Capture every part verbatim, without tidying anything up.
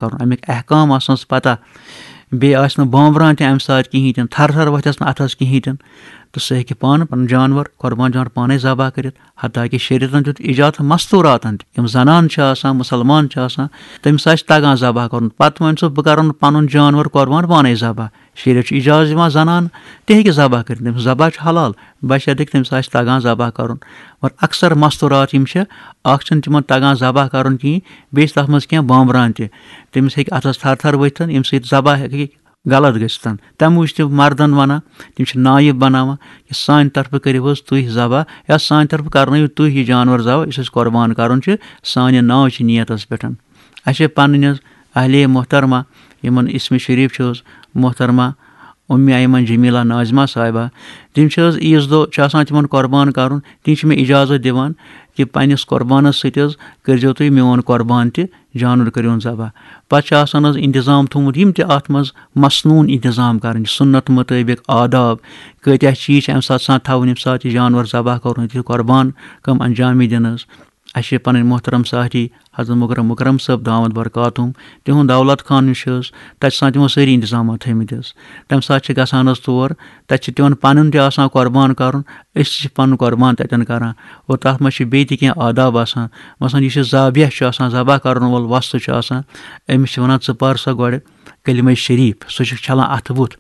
کرُن، اَمِکۍ احکام آسنَس پتہ، بیٚیہِ آسہِ نہٕ بانبران تہِ اَمہِ ساتہٕ کِہیٖنۍ تہِ نہٕ، تھر تھر وۄتھٮ۪س نہٕ اَتھَس کِہیٖنۍ تہِ نہٕ، تہٕ سُہ ہیٚکہِ پانہٕ پَنُن جانوَر، قۄربان جانوَر پانَے ذبح کٔرِتھ۔ حتیٰ کہِ شریعتَن دیُت اِجازت مستوٗراتَن تہِ، یِم زنان چھِ آسان، مُسلمان چھِ آسان، تٔمِس آسہِ تگان ذبح کَرُن، پَتہٕ وَنہِ سُہ، "بہٕ کَرَن پَنُن جانوَر قۄربان پانَے ذبح۔" شریعت چھُ اِجازت دِوان زنان تہِ ہیٚکہِ ذبح کٔرِتھ، تٔمِس ذبح چھُ حلال، بشرطیکہِ تٔمِس آسہِ تگان ذبح کَرُن۔ مگر اکثر مستوٗرات یِم چھِ، اَکھ چھُنہٕ تِمَن تگان ذبح کَرُن کِہیٖنۍ، بیٚیہِ چھِ تَتھ منٛز کینٛہہ بانبران تہِ، تٔمِس ہیٚکہِ اَتھَس تھر تھر ؤتھِتھ، ییٚمہِ سۭتۍ ذبح ہیٚکہِ غلط گٔژھِتھ۔ تَمہِ موٗجوٗب چھِ تِم مردَن وَنان، تِم چھِ نایب بَناوان کہِ سانہِ طرفہٕ کٔرِو حظ تُہۍ ذبح، یا سانہِ طرفہٕ کَرنٲیِو تُہۍ یہِ جانوَر ذبح، یُس اَسہِ قۄربان کَرُن چھُ، سانہِ ناو چھِ نیتَس پٮ۪ٹھ۔ اَسہِ چھِ پَنٕنۍ حظ اہلِ محترمہ، یِمَن اسمِ شریٖف چھِ حظ محترمہ اُمہِ ایمن جمیلہ ناظمہ صاحبہ، تِم چھِ حظ عیٖذ دۄہ چھُ آسان تِمَن قۄربان کَرُن، تِم چھِ مےٚ اِجازت دِوان کہِ پنٛنِس قۄربانَس سۭتۍ حظ کٔرۍزیو تُہۍ میون قۄربان تہِ، جانوَر کٔرِوُن ذبح۔ پَتہٕ چھُ آسان حظ اِنتظام تھوٚومُت، یِم تہِ اَتھ منٛز مصنوٗن اِنتظام کَرٕنۍ، سُنت مُطٲبِق آداب، کۭتیٛاہ چیٖز چھِ اَمہِ ساتہٕ آسان تھاوٕنۍ، ییٚمہِ ساتہٕ یہِ جانوَر ذبح کَرُن، یہِ قۄربان کٲم انجام یی دِنہٕ حظ۔ اَسہِ چھِ پَنٕنۍ محترم ساتھی حضرت مکرم مکرم صٲب دامت برکاتہم، تِہُنٛد دولت خان یُس چھُ حظ، تَتہِ چھِ آسان تِمو سٲری اِنتظامات تھٲومٕتۍ حظ۔ تَمہِ ساتہٕ چھِ گژھان حظ تور، تَتہِ چھِ تِمَن پَنُن تہِ آسان قۄربان کَرُن، أسۍ تہِ چھِ پَنُن قۄربان تَتٮ۪ن کَران۔ اور تَتھ منٛز چھِ بیٚیہِ تہِ کینٛہہ آداب آسان، مثلاً یُس یہِ ذابح چھُ آسان، ذبح کَرَن وول وۄستہٕ چھُ آسان، أمِس چھِ وَنان، "ژٕ پَر سا گۄڈٕ کلمہ شریٖف"، سُہ چھُ چھَلان اَتھٕ بُتھ۔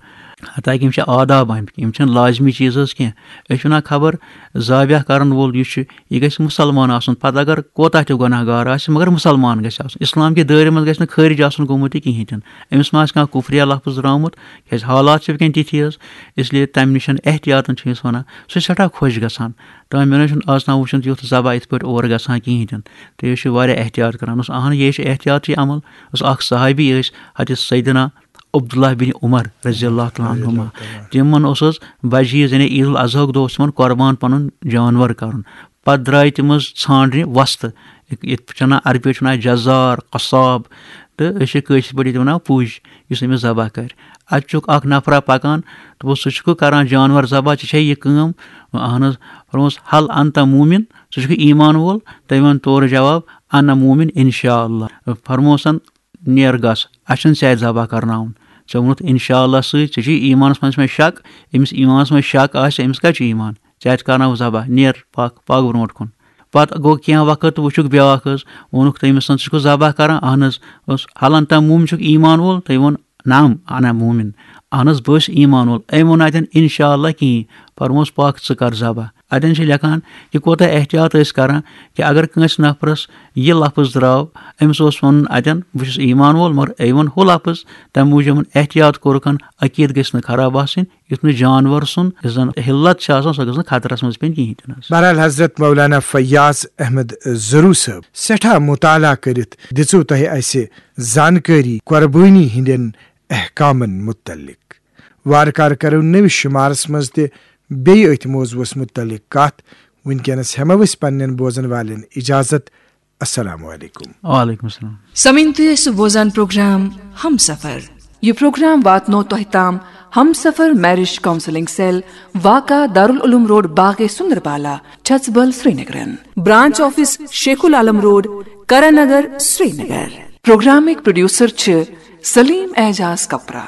حتیٰ کہِ یِم چھِ آداب آمٕتۍ، یِم چھِنہٕ لازمی چیٖز حظ کینٛہہ۔ أسۍ چھِ وَنان، خبر ذابح کَرَن وول یُس چھُ، یہِ گژھِ مُسلمان آسُن، پَتہٕ اگر کوتاہ تہِ گۄناہ گار آسہِ، مگر مُسلمان گژھِ آسُن۔ اِسلام کہِ دٲیرٕ منٛز گژھِ نہٕ خٲرِج آسُن گوٚمُت یہِ کِہیٖنۍ تہِ نہٕ۔ أمِس ما آسہِ کانٛہہ کُفریہ لفظ درٛامُت، کیٛازِ حالات چھِ وٕنکٮ۪ن تِتھی حظ۔ اِسلیے تَمہِ نِش احتیاطَن چھِ أمِس وَنان، سُہ چھُ سٮ۪ٹھاہ خۄش گژھان۔ تہٕ مےٚ نہ حظ چھُنہٕ آز تام وٕچھمُت یُتھ ذبح یِتھ پٲٹھۍ اورٕ گژھان کِہیٖنۍ تہِ نہٕ۔ تہٕ یہِ چھُ واریاہ احتیاط کَران۔ اوس اَہَن، یہِ چھُ احتیاطی عمل۔ اوس اَکھ صحابی، ٲسۍ حضرت سیدنا عبداللہ بن عمر رضی اللہ تعالیٰ عنہما۔ تِمَن اوس حظ بجہِ عیٖذ، یعنی عید الاضحیٰ ہُک دۄہ اوس تِمَن قۄربان پَنُن جانوَر کَرُن۔ پَتہٕ درٛاے تِم حظ ژھانٛڈنہِ وۄستہٕ۔ یِتھ پٲٹھۍ چھِ وَنان، عربی پٲٹھۍ چھِ وَنان جزار، قصاب، تہٕ أسۍ چھِ کٲشِر پٲٹھۍ تہِ وَنان پُج، یُس أمِس ذبح کَرِ۔ اَتہِ چھُکھ اَکھ نفرا پَکان، دوٚپُس، "ژٕ چھُکھ کَران جانوَر ذبح، ژےٚ چھےٚ یہِ کٲم؟" اَہَن حظ۔ فرموس، "ہل انت مومن، ژٕ چھُکھ ایٖمان وول؟" تٔمۍ ووٚن تورٕ جواب، "انا مومن انشاءاللہ۔" فرموسَن، "نیر گژھ، اَسہِ چھُنہٕ ژےٚ اَتہِ ذبح کَرناوُن۔ ژےٚ ووٚنُتھ انشاءاللہ سۭتۍ، ژےٚ چھُے ایٖمانَس منٛز چھُ مےٚ شک، أمِس ایٖمانَس منٛز شک آسہِ، أمِس کَتہِ چھُ ایٖمان؟ ژےٚ اَتہِ کَرناوُن ذبح، نیر پَکھ، پَکھ برونٛٹھ کُن۔" پَتہٕ گوٚو کینٛہہ وقت تہٕ وٕچھُکھ بیٛاکھ حظ، ووٚنُکھ تٔمِس، "ژٕ چھُکھ ذبح کَران؟" "اَہَن حظ۔" اوس، "ہل انت مومن، چھُکھ ایٖمان وول؟" تٔمۍ ووٚن، "نعم، انا مومن۔" "اَہَن حظ، بہٕ حظ چھُس ایٖمان وول۔" أمۍ ووٚن اَتٮ۪ن انشاءاللہ کِہیٖنۍ، فرموس، "پَکھ، ژٕ کَر ذبح۔" اَتٮ۪ن چھِ لیکھان کہِ کوٗتاہ احتیاط ٲسۍ کَران کہِ اگر کٲنٛسہِ نفرَس یہِ لفظ درٛاو، أمِس اوس وَنُن اَتٮ۪ن، "بہٕ چھُس ایٖمان وول"، مگر أمۍ ووٚن ہُہ لفظ، تَمہِ موٗجوٗب احتیاط کوٚرُکھ، عقیٖدٕ گژھِ نہٕ خراب آسٕنۍ، یُتھ نہٕ جانوَر سُنٛد یُس زَن حِلت چھِ آسان، سۄ گٔژھ نہٕ خطرَس منٛز پیٚنۍ کِہیٖنۍ تہِ نہٕ حظ۔ بہرحال، حضرت مولانا فیاض احمد زرو صٲب، سٮ۪ٹھاہ مطالعہ کٔرِتھ دِژوٕ تۄہہِ اَسہِ زانکٲری قۄربٲنی ہٕنٛدٮ۪ن احکامَن مُتعلق۔ وارٕ کارٕ کرو نٔوِس شُمارس منٛز تہِ بیٚیہِ أتھۍ موضوعس مُتعلق کتھ۔ وٕنکیٚنس ہٮ۪مو أسۍ پننٮ۪ن بوزن والٮ۪ن اجازت۔ السلام علیکم۔ وعلیکم السلام۔ سامعین، تُہۍ ٲسِو بوزان پروگرام ہمسفر۔ یہِ پروگرام واتنو تۄہہِ تام ہمسفر میرج کونسلنگ سیل، واقع دارالعلوم روڈ، باغے سندربالا، چھژبل، سرینگرن۔ Branch office Sheikh ul Alam road, Karan Nagar, Srinagar. پروگرامٕکۍ پروڈیوسر چھِ سلیم اعجاز کپرا۔